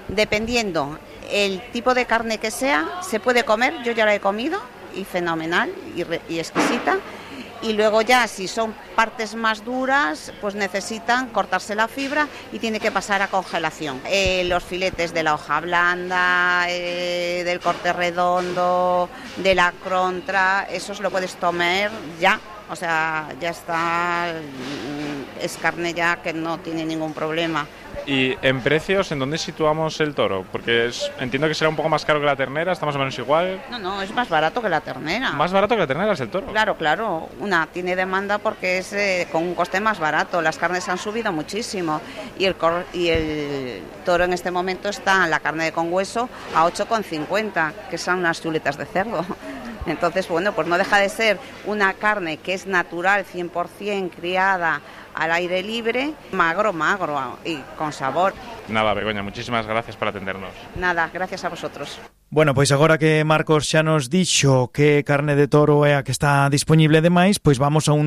S35: dependiendo el tipo de carne que sea, se puede comer, yo ya la he comido, y fenomenal, y, re, y exquisita. Y luego ya, si son partes más duras, pues necesitan cortarse la fibra y tiene que pasar a congelación. Eh, los filetes de la hoja blanda, eh, del corte redondo, de la contra, esos lo puedes comer ya. O sea, ya está, es carne ya que no tiene ningún problema.
S19: ¿Y en precios, en dónde situamos el toro? Porque es, entiendo que será un poco más caro que la ternera, ¿está más o menos igual?
S35: No, no, es más barato que la ternera.
S19: ¿Más barato que la ternera es el toro?
S35: Claro, claro. Una tiene demanda porque es eh, con un coste más barato. Las carnes han subido muchísimo y el, cor y el toro en este momento está, la carne de con hueso, a ocho con cincuenta, que son unas chuletas de cerdo. Entonces, bueno, pues no deja de ser una carne que es natural, cien por cien criada al aire libre, magro, magro y con sabor.
S19: Nada, Begoña, muchísimas gracias por atendernos.
S35: Nada, gracias a vosotros.
S11: Bueno, pois agora que Marcos xa nos dixo que carne de toro é a que está disponible de máis, pois vamos a un